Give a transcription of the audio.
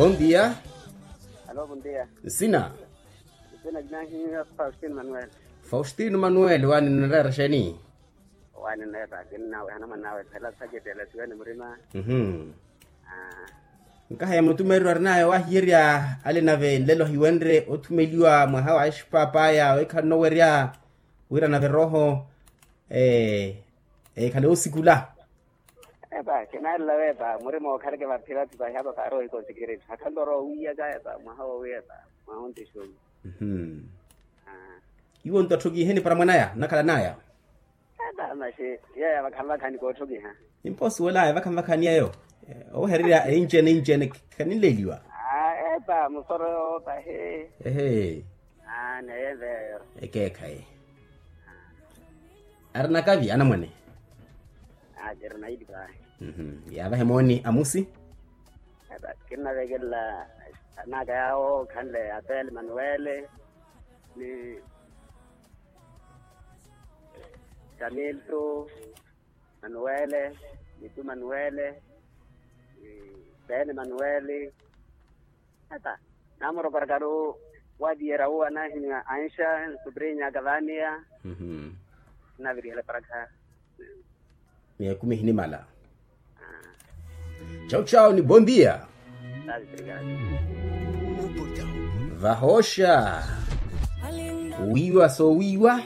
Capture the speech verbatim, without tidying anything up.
Bondia. Alo bondia. Nsina. Nsina kinahiwa faustino manuel. Faustino manuel wani nnareera xeni? Wani nnareera kinnawe hana mwanawe phela saketela siwene murima. Mhm. Nkaha ya mutumereryo arinaya wahiyerya ale nave nlelo hiwenre othumeliwa mwaha wa exipapaya wekhala nnowerya wira nave roho ekhale osikula. Epa kinarela wepa murima okhaleke vaphi vaphi vahi apa khaari ohika osikireti hakhanloro owiyaka epa mwaha wowiya epa mwaha ontixumi. Iwo nto atthokiheni para mwanaya nnakhala naya. Epa maxi yeya vakhala vakhani kootthokiha. Nimpa osuwelaya vakha mvakhani yeyo owehererya einci ene einci ene khaninleeliwa. Epa musoro yowo pahi. Ehe. Neye veyo. Ekeekhayi. Ari nakavi anamwane. Kiri naili pahi. Yaavahe mooni amusi. Kinnavekelela anaka yawo khanle apele manuwele ni kamilto manuwele ni tu manuwele ni pene manuwele. Ata namuroparakaru waviyerya uwo anahimya ansha nsuprinya kavaniya. Nnavirihela parakha. Miya ekumi ehinimala. Chau chau ni bondia. Vahosha wiiwa soowiiwa.